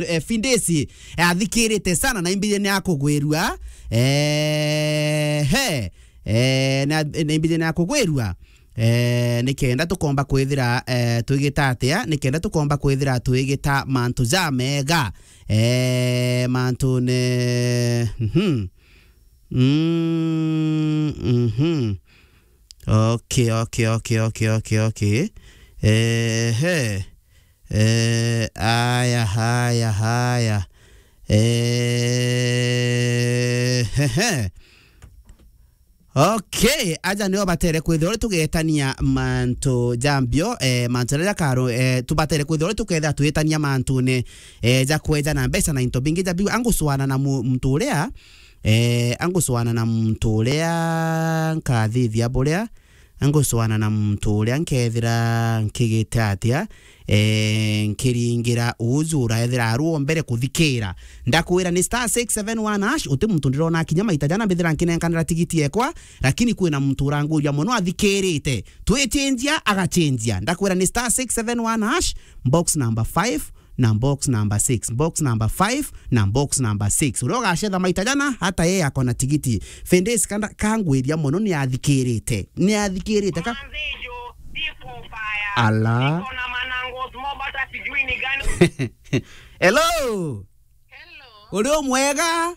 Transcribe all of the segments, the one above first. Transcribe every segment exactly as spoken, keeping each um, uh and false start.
eh, Findesi, eh, athikirite sana na imbijene ya kugwirua. Eh, he. Eh, na, na imbijene ya kugwirua. Eh, nikenda tukomba kwithira, eh, twigita atia? Nikenda tukomba kwithira twigita mantu ja mega. Eh, mantu ne, mhm. Mm, mhm. Okay, okay, okay, okay, okay, okay. Ehe. Eh, aya, haya, haya. Eh, hehe. Okay, aja nio batere kwithirwa uri tugetania mantu ja mbio, eh, mantu jaria jakaro, eh, tubatere kwithirwa uri tukethira twitania mantune, eh, ja kweja na mbeca na into bingi ja biu. Anguswana na mu-, muntu uria, eh, anguswana na muntu uria nkathithia buria, anguswana na muntu uria nkethira nkigite atia, eh, nkiringira uju uraethira arua mbere kuthikira. Ndakwira ni star six seven one hash, uti muntu ndirona akinya maita jana mbithira nkinenkanira tigiti ekwa, lakini kwina muntu uranguria mono athikirite. Twichenjia, agachenjia. Ndakwira ni star six seven one hash, box number five, na box number six, box number five na box number six. Uria ugacetha maita jana, hata yeye akona tigiti. Fendesi kanda kangwiria mono ni athikirite. Ni athikirite ka. Manzejo, siko mbaya. Ala. Niko na manango smoke, hata sijui ni gani. Hello. Hello. Uri umwega?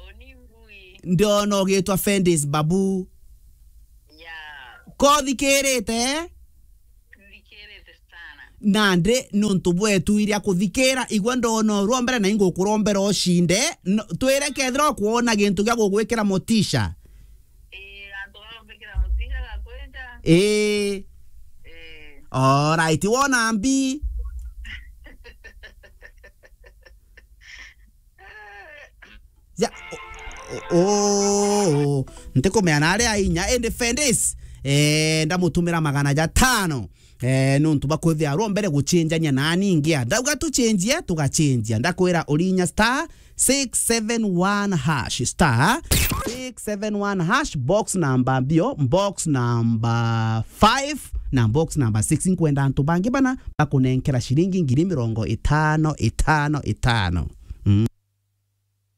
Oni ngui. Ndiona ugitwa Fendis Babu. Yeah. Kothikirite? Thikirite sana. Nandi nuntu bwetu iria kuthikira, igwe ndona urwa mbere na ingukurombera ucinde. No, twire kethira ukwona gintu gia gugwikira motisha. Ii, gantu ga gumbikira motisha ga kwenda. Ii. Ii. Alright, wona mbi. Ya, o, o, o, ntikumea na aria inya, indi Fendis, eh, ndamutumira magana jatano. Eh, nuntu bakwithia arwa mbere guchenjania na ningia. Ndauga tuchenjie, tugachenjia. Ndakwira urinya star six seven one hash, star six seven one hash, box number mbio, box number five na box number six. Nkwenda antu bangi bana bakunenkera ciringi ngiri mirongo itano, itano, itano.